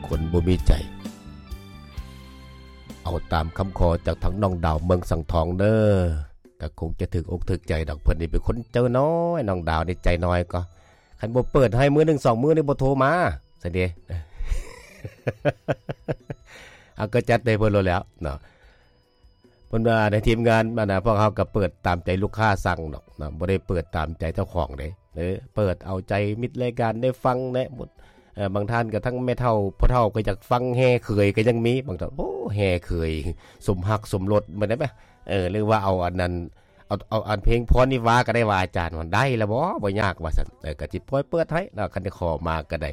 ຄົນບໍ່ມີໃຈ ເອົາຕາມຄຳຂໍຈາກທາງນ້ອງດາວເມືອງສັງທອງເດີ ກໍຄົງຈະຖືກອົກຖືກໃຈດອກ. ເພິ່ນນີ້ເປັນຄົນໃຈນ້ອຍ ນ້ອງດາວນີ້ໃຈນ້ອຍກໍ ຄັນບໍ່ເປີດໃຫ້ມື້ໜຶ່ງສອງມື້ນີ້ບໍ່ໂທມາຊັ້ນເດ. ເອົາ ກໍຈັດໃຫ້ເພິ່ນໂລດແລ້ວເນາະ. ເພິ່ນວ່າໃນທີມງານ ອັນນ່າ ພວກເຮົາກໍເປີດຕາມໃຈລູກຄ້າສັ່ງດອກເນາະ ບໍ່ໄດ້ເປີດຕາມໃຈເຈົ້າຂອງເດ້. ເອີ ເປີດເອົາໃຈມິດລາຍການໄດ້ຟັງແດ່ ເອີ ບາງທ່ານກໍທັງແມ່ເຖົ້າພໍ່ເຖົ້າກໍຢາກຟັງ ແຫ່ເຂີຍກໍຍັງມີ ບາງທ່ານ ໂອ້ ແຫ່ເຂີຍສົມຮັກສົມລົດ ແມ່ນໄດ໋ ເອີ ຫຼືວ່າເອົາອັນນັ້ນ ເອົາ ເອົາອັນເພງພອນວິວາກໍໄດ້ ວ່າອາຈານວ່າໄດ້ລະບໍ່ ບໍ່ຍາກວ່າຊັ້ນ. ເອີ ກໍຊິປ່ອຍເປີດໃຫ້ເນາະ ຄັນໄດ້ຂໍມາກໍໄດ້.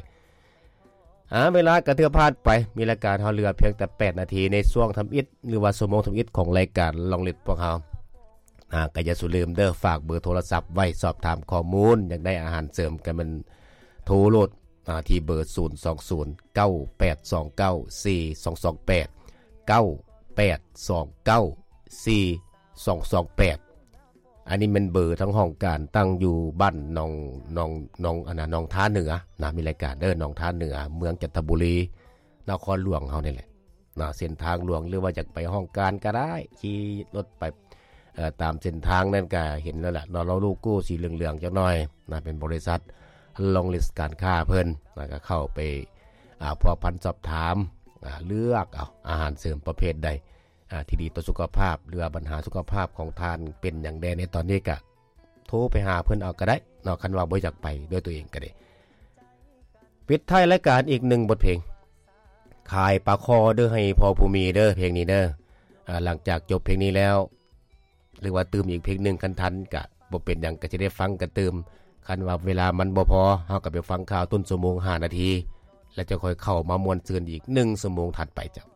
ອາ ເວລາກໍຖືວ່າຜ່ານໄປ ມີລາຍການເຮົາເຫຼືອພຽງແຕ່ແປດນາທີ ໃນຊ່ວງທຳອິດ ຫຼືວ່າຊົ່ວໂມງທຳອິດຂອງລາຍການລອງລິດພວກເຮົາ. ອາ ກໍຢ່າສູ່ລືມເດີ ຝາກເບີໂທລະສັບໄວ້ ສອບຖາມຂໍ້ມູນ ຢາກໄດ້ອາຫານເສີມ ກໍແມ່ນໂທໂລດ ອາ ທີ່ເບີ ສູນສອງສູນ ເກົ້າແປດສອງເກົ້າ ສີ່ສອງສອງແປດ ເກົ້າແປດສອງເກົ້າ ສີ່ສອງສອງແປດ. ອັນນີ້ແມ່ນເບີທາງຫ້ອງການ ຕັ້ງຢູ່ບ້ານໜອງ ໜອງ ໜອງ ອັນນ່າ ໜອງທາເໜືອນະ ມີລາຍການເດີ ໜອງທາເໜືອ ເມືອງຈັນທະບູລີ ນະຄອນຫຼວງເຮົານີ້ແຫຼະນະ. ເສັ້ນທາງຫຼວງ ຫຼືວ່າຢາກໄປຫ້ອງການກໍໄດ້ ຂີ່ລົດໄປ ເອີ ຕາມເສັ້ນທາງນັ້ນກໍເຫັນແລ້ວລະເນາະ ໂລໂກ້ສີເຫຼືອງໆຈັກໜ່ອຍນະ ເປັນບໍລິສັດລອງລິດການຄ້າເພິ່ນນະ. ກໍເຂົ້າໄປ ອາ ພົວພັນສອບຖາມ ອາ ເລືອກເອົາອາຫານເສີມປະເພດໃດ ອາ ທີ່ດີຕໍ່ສຸຂະພາບ ຫຼືວ່າບັນຫາສຸຂະພາບຂອງທ່ານເປັນຫຍັງແດ່ໃນຕອນນີ້ ກະໂທໄປຫາເພິ່ນເອົາກໍໄດ້ເນາະ ຄັນວ່າບໍ່ຢາກໄປດ້ວຍຕົວເອງກໍໄດ້. ປິດທ້າຍລາຍການອີກໜຶ່ງບົດເພງ ຂາຍປາຄໍເດີ ໃຫ້ພໍ່ຜູ້ມີເດີ ເພງນີ້ເດີ. ອາ ຫຼັງຈາກຈົບເພງນີ້ແລ້ວ ຫຼືວ່າຕື່ມອີກເພງໜຶ່ງ ຄັນທັນກະບໍ່ເປັນຫຍັງ ກະຊິໄດ້ຟັງກັນຕື່ມ. ຄັນວ່າເວລາມັນບໍ່ພໍ ເຮົາກໍໄປຟັງຂ່າວຕົ້ນຊົ່ວໂມງຫ້ານາທີ ແລ້ວຈະຄ່ອຍເຂົ້າມາມ່ວນຊື່ນອີກໜຶ່ງຊົ່ວໂມງຖັດໄປເຈົ້າ.